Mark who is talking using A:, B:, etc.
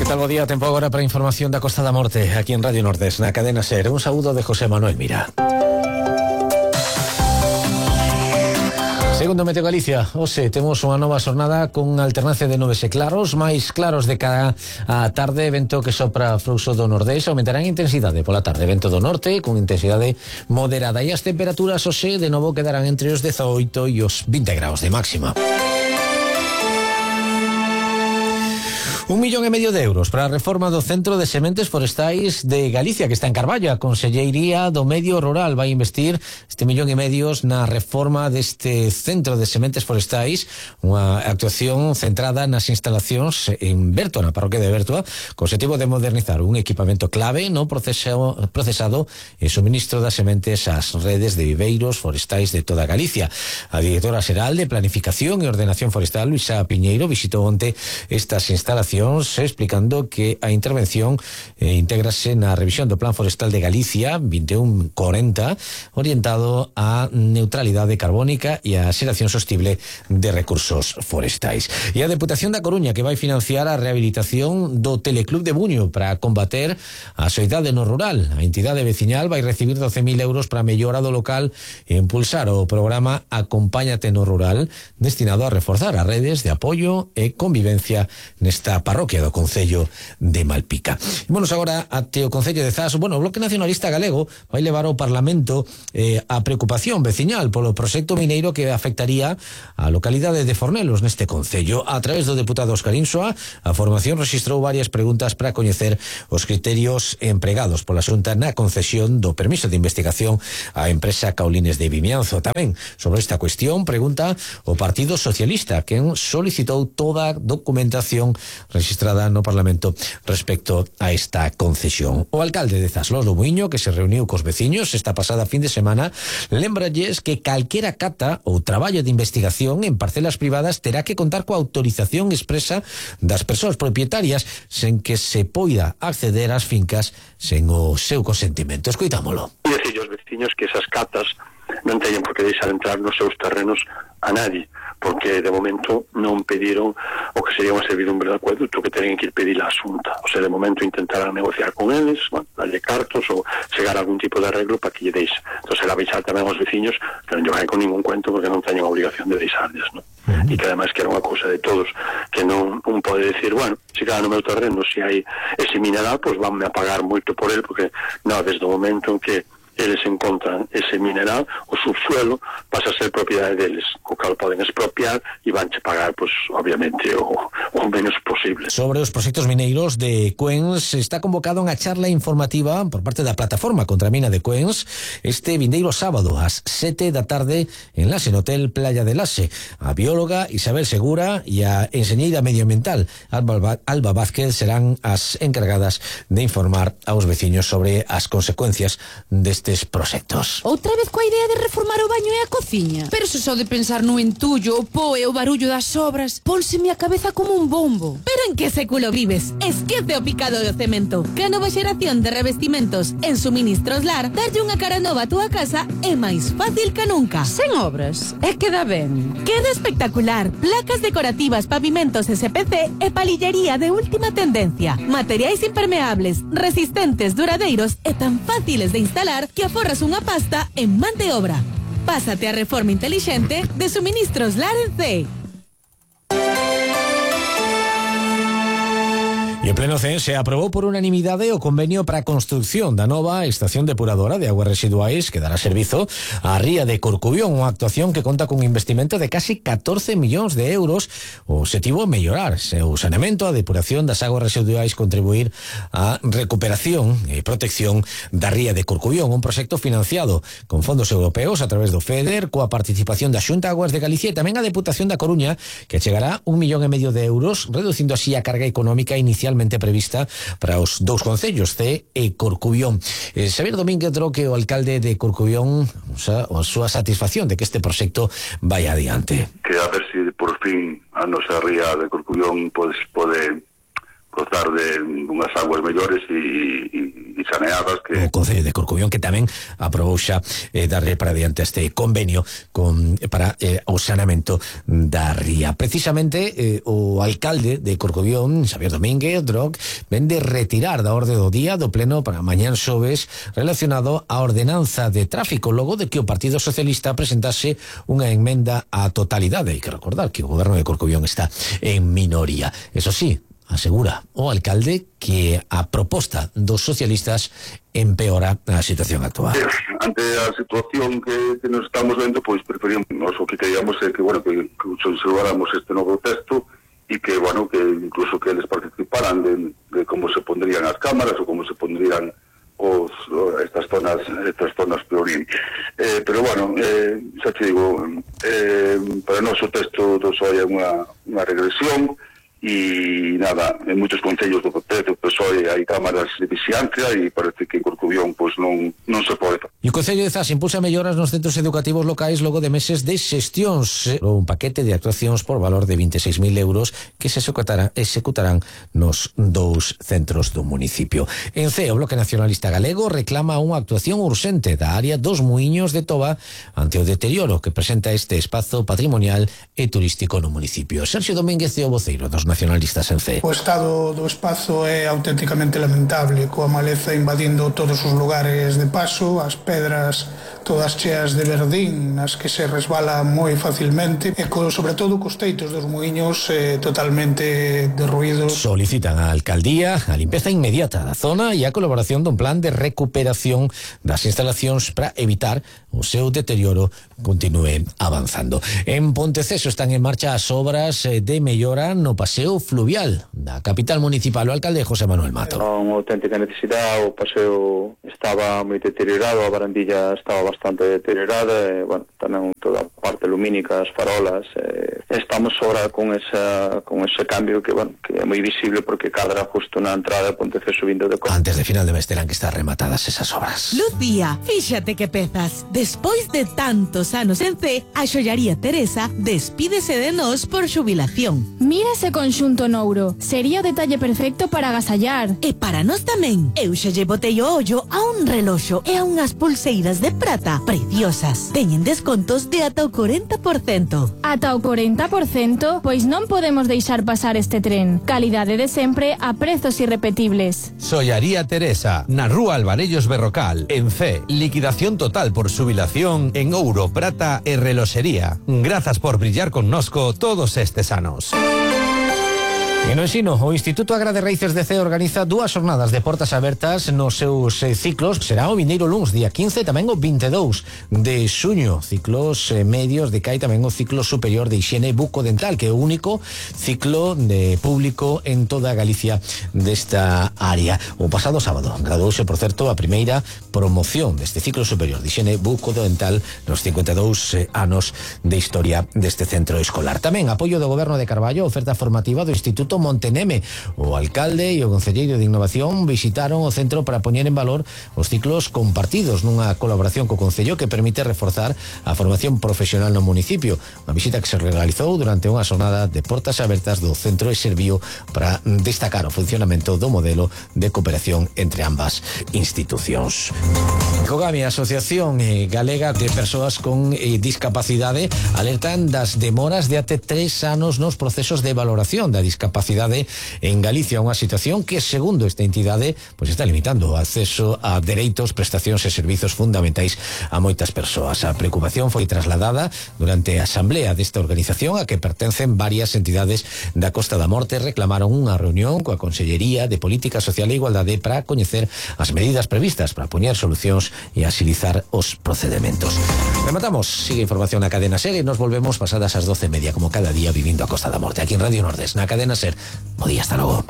A: tal, bo día? Tempo agora para a información da Costa da Morte aquí en Radio Nordés, na cadena SER. Un saúdo de José Manuel Mira. Segundo Meteo Galicia, hoxe temos unha nova xornada con alternancia de nubes e claros, máis claros de cara á tarde, vento que sopra fluxo do nordés, aumentará en intensidade pola tarde, vento do norte con intensidade moderada, e as temperaturas hoxe de novo quedarán entre os 18 e os 20 graus de máxima. 1,5 millón de euros para a reforma do Centro de Sementes Forestais de Galicia, que está en Carballo. A Conselleiría do Medio Rural vai investir este 1,5 millón na reforma deste Centro de Sementes Forestais, unha actuación centrada nas instalacións en Berto, na parroquia de Bertoa, co objetivo de modernizar un equipamento clave no procesado e suministro das sementes ás redes de viveiros forestais de toda Galicia. A directora xeral de Planificación e Ordenación Forestal, Luisa Piñeiro, visitou onte estas instalacións, explicando que a intervención intégrase na revisión do Plan Forestal de Galicia 2140, orientado á neutralidade carbónica e á xeración sostible de recursos forestais. E a Deputación da Coruña, que vai financiar a rehabilitación do Teleclub de Buño para combater a soidade no rural. A entidade veciñal vai recibir 12.000 euros para a mellora do local e impulsar o programa Acompáñate no Rural, destinado a reforzar as redes de apoio e convivencia nesta parroquia do Concello de Malpica. Vamos agora até o Concello de Zas. Bueno, o Bloque Nacionalista Galego vai levar ao Parlamento a preocupación veciñal polo proxecto mineiro que afectaría a localidade de Fornelos neste Concello. A través do deputado Óscar Insua, a formación rexistrou varias preguntas para coñecer os criterios empregados pola Xunta na concesión do permiso de investigación á empresa Caulines de Vimianzo. Tamén sobre esta cuestión pregunta o Partido Socialista, quen solicitou toda a documentación registrada no Parlamento respecto a esta concesión. O alcalde de Zas, Lolo Muiño, que se reuniu cos veciños esta pasada fin de semana, lembralles que calquera cata ou traballo de investigación en parcelas privadas terá que contar coa autorización expresa das persoas propietarias, sen que se poida acceder ás fincas sen o seu consentimento. Escoitámolo.
B: E decir aos veciños que esas catas non teñen por que deixar entrar nos seus terrenos a nadie, porque de momento non pediron o que sería unha servidumbre de acueducto, que teñen que ir pedir a Xunta. O sea, de momento intentarán negociar con eles, bueno, darlle cartos ou chegar a algún tipo de arreglo para que lle deixe. Entón, será avisar tamén aos veciños que non lle vai con ningún cuento porque non teñen a obligación de deixarles, non? E que ademais que era unha cousa de todos, que non un pode decir, bueno, se cada no meu terreno se hai ese mineral, pois vanme a pagar moito por ele, porque non, desde o momento en que eles encontran ese mineral, o subsuelo pasa a ser propiedade deles, o cal poden expropiar e vanche pagar, pues, obviamente, o menos posible.
A: Sobre os proxectos mineiros de Cuens, está convocado unha charla informativa por parte da plataforma contra a mina de Cuens este vindeiro sábado ás 7 da tarde en Lase, no Hotel Playa de Lase. A bióloga Isabel Segura e a enxeñeira medioambiental Alba Vázquez serán as encargadas de informar aos veciños sobre as consecuencias deste proxectos.
C: Outra vez coa idea de reformar o baño e a cociña? Pero se só de pensar no entullo, o po e o barullo das obras, pónseme a cabeza como un bombo. Pero en que século vives? Esquece o picado do cemento. Que a nova xeración de revestimentos en Suministros Lar, darlle unha cara nova a túa casa é máis fácil que nunca. Sen obras, e queda ben. Queda espectacular. Placas decorativas, pavimentos SPC e palillería de última tendencia. Materiais impermeables, resistentes, duradeiros e tan fáciles de instalar que aforras unha pasta en man de obra. Pásate a reforma intelixente de Suministros Lar en C.
A: E en pleno CEN se aprobou por unanimidade o convenio para a construción da nova estación depuradora de aguas residuais que dará servizo á ría de Corcubión, unha actuación que conta cun investimento de casi 14 millóns de euros. O objetivo é mellorar o saneamento, a depuración das aguas residuais, contribuir á recuperación e protección da ría de Corcubión, un proxecto financiado con fondos europeos a través do FEDER, coa participación da Xunta Aguas de Galicia e tamén a Deputación da Coruña, que chegará 1,5 millón de euros, reducindo así a carga económica inicialmente prevista para os dous concellos, Cee e Corcubión. Xavier Domínguez Droque, o alcalde de Corcubión, a súa satisfacción de que este proxecto vai adiante.
D: Que a ver se por fin a nosa ría de Corcubión pode gozar de unhas aguas mellores e saneadas que...
A: O Concello de Corcubión, que tamén aprobou xa darle para diante este convenio para o saneamento da ría. Precisamente o alcalde de Corcubión, Xavier Domínguez Droc, ven de retirar da orde do día do pleno para mañán xoves relacionado á ordenanza de tráfico, logo de que o Partido Socialista presentase unha enmenda á totalidade. Hai que recordar que o goberno de Corcubión está en minoría. Eso sí, asegura o alcalde que a proposta dos socialistas empeora a situación actual.
D: Ante a situación que nos estamos vendo, pois preferimos, o que queríamos é que, bueno, que observáramos este novo texto e que, bueno, que incluso que eles participaran de como se pondrían as cámaras ou como se pondrían estas zonas priorín. Pero, bueno, xa te digo, para nós o texto do PSOE é unha regresión. E nada, en moitos concellos do PSOE hai cámaras de vixiancia e parece que en Corcubión pois non se pode.
A: E o Concello de Zas impulsa melloras nos centros educativos locais logo de meses de xestións, un paquete de actuacións por valor de 26.000 euros que se executarán nos 2 centros do municipio. En CEE, o Bloque Nacionalista Galego reclama unha actuación urxente da área dos Muiños de Toba ante o deterioro que presenta este espazo patrimonial e turístico no municipio. Sergio Domínguez é o voceiro dos nacionalistas en CEE.
E: O estado do espazo é auténticamente lamentable, coa maleza invadindo todos os lugares de paso, as pedras todas cheas de verdín nas que se resbala moi facilmente e sobre todo cos teitos dos muiños totalmente derruídos.
A: Solicitan á alcaldía a limpeza inmediata da zona e a colaboración dun plan de recuperación das instalacións para evitar o seu deterioro continúe avanzando. En Ponteceso están en marcha as obras de mellora no paseo fluvial da capital municipal. O alcalde José Manuel Mato.
F: Unha auténtica necesidade, o paseo estaba moi deteriorado, a barandilla estaba bastante deteriorada, e, bueno, tamén toda a parte lumínica, as farolas, estamos ahora con ese cambio que, bueno, que é moi visible porque cadra justo na entrada de Ponteceso vindo de Costa.
A: Antes de final de mes terán que estar rematadas esas obras.
G: Lucía, fíxate que pezas. Despois de tantos anos en CEE, a xollaría Teresa despídese de nós por xubilación.
H: Mira ese conxunto nouro. Sería o detalle perfecto para agasallar.
G: E para nós tamén. Eu xa lle botei o ollo a un reloxo e a unhas pulseiras de prata preciosas. Teñen descontos de ata o 40%.
H: Ata o 40%? Pois non podemos deixar pasar este tren. Calidade de sempre a prezos irrepetibles.
I: Xollaría Teresa, na Rúa Alvarellos Berrocal, en CEE. Liquidación total por xubilación en ouro, prata e reloxería. Grazas por brillar connosco todos estes anos.
A: E no ensino, o Instituto Agra de Raíces de CEE organiza 2 xornadas de portas abertas nos seus ciclos. Será o vindeiro luns, día 15, e tamén o 22 de xuño. Ciclos medios de CAI, tamén o ciclo superior de hixiene bucodental, que é o único ciclo de público en toda Galicia desta área. O pasado sábado graduouse, por certo, a primeira promoción deste ciclo superior de hixiene bucodental nos 52 anos de historia deste centro escolar. Tamén apoio do Goberno de Carballo, oferta formativa do Instituto Monteneme. O alcalde e o concelleiro de Innovación visitaron o centro para poñer en valor os ciclos compartidos nunha colaboración co concello que permite reforzar a formación profesional no municipio. Unha visita que se realizou durante unha xornada de portas abertas do centro e serviu para destacar o funcionamento do modelo de cooperación entre ambas institucións. Cogami, a Asociación Galega de Persoas con Discapacidade, alertan das demoras de até 3 anos nos procesos de valoración da discapacidade en Galicia, unha situación que, segundo esta entidade, pois está limitando o acceso a dereitos, prestacións e servizos fundamentais a moitas persoas. A preocupación foi trasladada durante a asamblea desta organización a que pertencen varias entidades da Costa da Morte. Reclamaron unha reunión coa Consellería de Política Social e Igualdade para coñecer as medidas previstas para poñer solucións e agilizar os procedementos. Rematamos, sigue información na Cadena Ser e nos volvemos pasadas as 12:30 como cada día vivindo a Costa da Morte aquí en Radio Nordés, na Cadena Ser. Bo día, hasta logo.